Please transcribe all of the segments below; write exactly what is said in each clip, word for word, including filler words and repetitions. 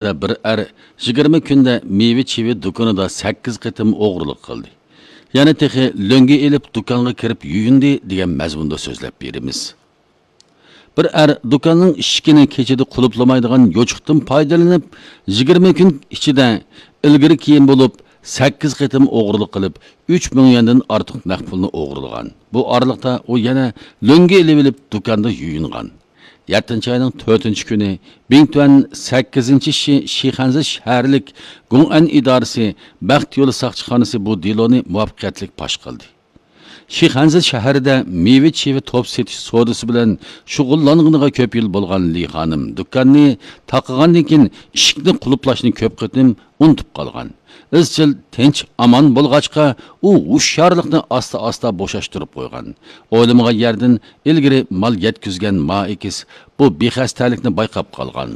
بىر ئەر يىگىرمە كۈندە مېۋە-چېۋە دۇكىنىدا سەككىز قېتىم ئوغرىلىق قىلدى. يەنە تېخى لۆڭگە ئېلىپ دۇكانغا كىرىپ يۇيۇندى دېگەن مەزمۇندا سۆزلەپ بېرىمىز. بىر ئەر دۇكاننىڭ ئىشىكىنى كېچىدە قۇلۇپلىمايدىغان يوچۇقتىن پايدىلىنىپ، يىگىرمە كۈن ئىچىدە ئىلگىرى كېيىن بولۇپ سەككىز قېتىم ئوغرىلىق قىلىپ، ئۈچ مىڭ يۈەندىن ئارتۇق نەق پۇلنى ئوغرىلىغان. بۇ ئارىلىقتا ئۇ يەنە لۆڭگە ئېلىۋېلىپ دۇكاندا يۇيۇنغان. يەتتىنچى ئاينىڭ تۆتىنچى كۈنى بىڭتۈەن سەككىزىنچى شى-، شىخەنزې شەھەرلىك گۇڭئەن ئىدارىسى بەخت يولى ساقچىخانىسى بۇ دېلونى مۇۋەپپەقىيەتلىك پاش قىلدى. شىخەنزې شەھىرىدە مېۋە-چېۋە توپ سېتىش سودىسى بىلەن شۇغۇللانغىنىغا كۆپ يىل بولغان لى خانىم دۇكاننى تاقىغاندىن كېيىن، ئىشىكنى قۇلۇپلاشنى كۆپ قېتىم ئۇنتۇپ قالغان. ئىزچىل تىنچ-ئامان بولغاچقا، ئۇ ھوشيارلىقنى ئاستا-ئاستا بوشاشتۇرۇپ قويغان. ئويلىمىغان يەردىن ئىلگىرى مال يەتكۈزگەن ما ئېكىس بۇ بىخەستەلىكنى بايقاپ قالغان.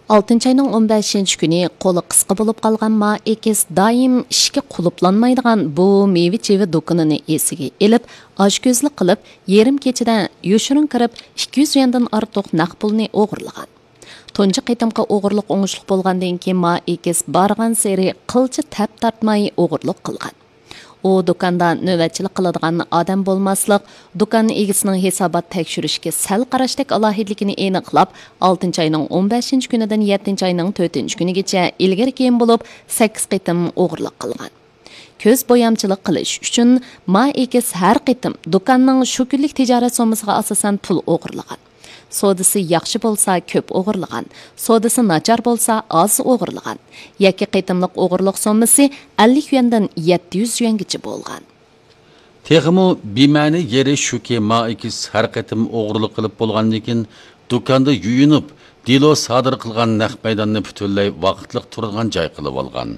ئالتىنچى ئاينىڭ ئون بەشىنچى كۈنى قولى قىسقا بولۇپ قالغان ما ئېكىس دائىم ئىشىكى قۇلۇپلانمايدىغان بۇ مېۋە-چېۋە دۇكىنىنى ئېسىگە ئېلىپ، ئاچكۆزلۈك قىلىپ، يېرىم كېچىدە يوشۇرۇن كىرىپ، ئىككى يۈز يۈەندىن ئارتۇق نەق پۇلنى ئوغرىلىغان. تۇنجى قېتىمقى ئوغرىلىق ئوڭۇشلۇق بولغاندىن كېيىن، ما ئېكىس بارغانسېرى قىلچە تەپ تارتماي ئوغرىلىق قىلغان. ئۇ دۇكاندا نۆۋەتچىلىك قىلىدىغان ئادەم بولماسلىق، دۇكان ئىگىسىنىڭ ھېسابات تەكشۈرۈشكە سەل قاراشتەك ئالاھىدىلىكىنى ئېنىقلاپ، ئالتىنچى ئاينىڭ ئون بەشىنچى كۈنىدىن يەتتىنچى ئاينىڭ تۆتىنچى كۈنىگىچە ئىلگىرى كېيىن بولۇپ سەككىز قېتىم ئوغرىلىق قىلغان. كۆز بويامچىلىق قىلىش ئۈچۈن ما ئېكىس ھەر قېتىم دۇكاننىڭ شۇ كۈنلۈك تىجارەت سوممىسىغا ئاساسەن پۇل ئوغرىلىغان. سودىسى ياخشى بولسا كۆپ ئوغرىلىغان، سودىسى ناچار بولسا ئاز ئوغرىلىغان. يەككە قېتىملىق ئوغرىلىق سوممىسى ئەللىك يۈەندىن يەتتە يۈز يۈەنگىچە بولغان. تېخىمۇ بىمەنە يېرى شۇكى، ما ئېكىس ھەر قېتىم ئوغرىلىق قىلىپ بولغاندىن كېيىن، دۇكاندا يۇيۇنۇپ، دېلو سادىر قىلغان نەق مەيداننى پۈتۈنلەي ۋاقىتلىق تۇرىدىغان جاي قىلىۋالغان.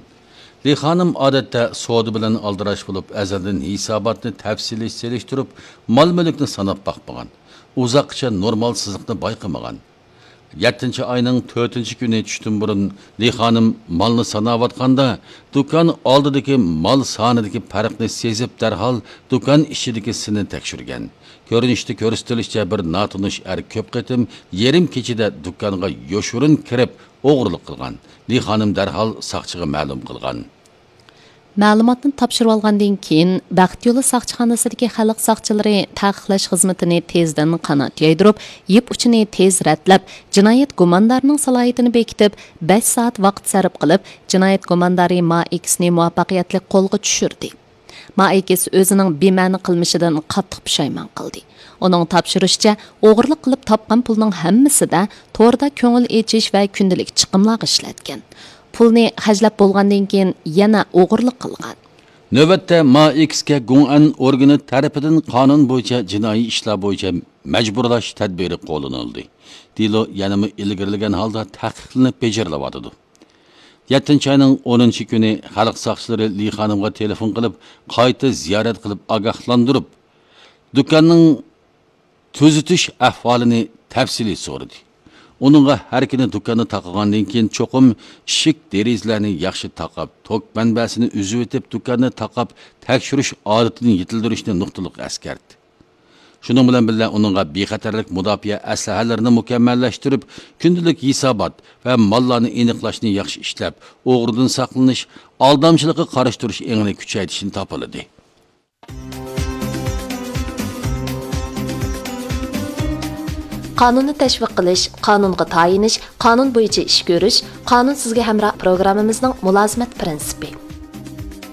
لى خانىم ئادەتتە سودا بىلەن ئالدىراش بولۇپ، ئەزەلدىن ھېساباتنى تەپسىلىي سېلىشتۇرۇپ، مال-مۈلۈكنى ساناپ باقمىغان. ئۇزاققىچە نورمال سىزىقنى بايقىمىغان. يەتتىنچى ئاينىڭ تۆتىنچى كۈنى چۈشتىن بۇرۇن لى خانىم مالنى ساناۋاتقاندا، دۇكان ئالدىدىكى مال سانىدىكى پەرقنى سېزىپ، دەرھال دۇكان ئىچىدىكى سىنى تەكشۈرگەن. كۆرۈنۈشتە كۆرسىتىلىشىچە، بىر ناتونۇش ئەر كۆپ قېتىم يېرىم كېچىدە دۇكانغا يوشۇرۇن كىرىپ، ئوغرىلىق قىلغان. لى خانىم دەرھال ساقچىغا مەلۇم قىلغان. مەلۇماتنى تاپشۇرۇۋالغاندىن كېيىن، بەخت يولى ساقچىخانىسىدىكى خەلق ساقچىلىرى تەقىقلەش خىزمىتىنى تېزدىن قانات يايدۇرۇپ، يىپ ئۇچىنى تېز رەتلەپ، جىنايەت گۇماندارىنىڭ سالاھىيىتىنى بېكىتىپ، بەش سائەت ۋاقىت سەرپ قىلىپ، جىنايەت گۇماندارى ما ئېكىسنى مۇۋەپپەقىيەتلىك قولغا چۈشۈردى. ما ئېكىس ئۆزىنىڭ بىمەنە قىلمىشىدىن قاتتىق پۇشايمان قىلدى. ئۇنىڭ تاپشۇرۇشىچە، ئوغرىلىق قىلىپ تاپقان پۇلنىڭ ھەممىسىدە توردا كۆڭۈل ئېچىش ۋە كۈندىلىك چىقىملارغا ئىشلەتكەن. پۇلنى خەجلەپ بولغاندىن كېيىن يەنە ئوغرىلىق قىلغان. نۆۋەتتە ما ئېكىسكە گۇڭئەن ئورگىنى تەرىپىدىن قانۇن بويىچە جىنايى ئىشلار بويىچە مەجبۇرلاش تەدبىرى قوللىنىلدى. دېلو يەنىمۇ ئىلگىرىلىگەن ھالدا تەھقىقلىنىپ بېجىرىلىۋاتىدۇ. يەتتىنچى ئاينىڭ ئونىنچى كۈنى خەلق ساقچىلىرى لى خانىمغا تېلېفون قىلىپ، قايتا زىيارەت قىلىپ ئاگاھلاندۇرۇپ، دۇكاننىڭ تۈزىتىش ئەھۋالىنى تەپسىلىي سورىدى. ئۇنىڭغا ھەر كۈنى دۇكاننى تاقىغاندىن كېيىن، چوقۇم ئىشىك دېرىزىلەرنى ياخشى تاقاپ، توك مەنبەسىنى ئۈزۈۋېتىپ، دۇكاننى تاقاپ تەكشۈرۈش ئادىتىنى يېتىلدۈرۈشنى نۇقتىلىق ئەسكەرتتى. شۇنىڭ بىلەن بىللە، ئۇنىڭغا بىخەتەرلىك مۇداپىئە ئەسلىھەلىرىنى مۇكەممەللەشتۈرۈپ، كۈندىلىك ھېسابات ۋە ماللارنى ئېنىقلاشنى ياخشى ئىشلەپ، ئوغرىدىن ساقلىنىش، ئالدامچىلىققا قارشى تۇرۇش ئېڭىنى كۈچەيتىشنى تاپىلىدى. قانۇننى تەشۋىق قىلىش، قانۇنغا تايىنىش، قانۇن بويىچە ئىش كۆرۈش، قانۇن سىزگە ھەمراھ پروگراممىمىزنىڭ مۇلازىمەت پىرىنسىپى.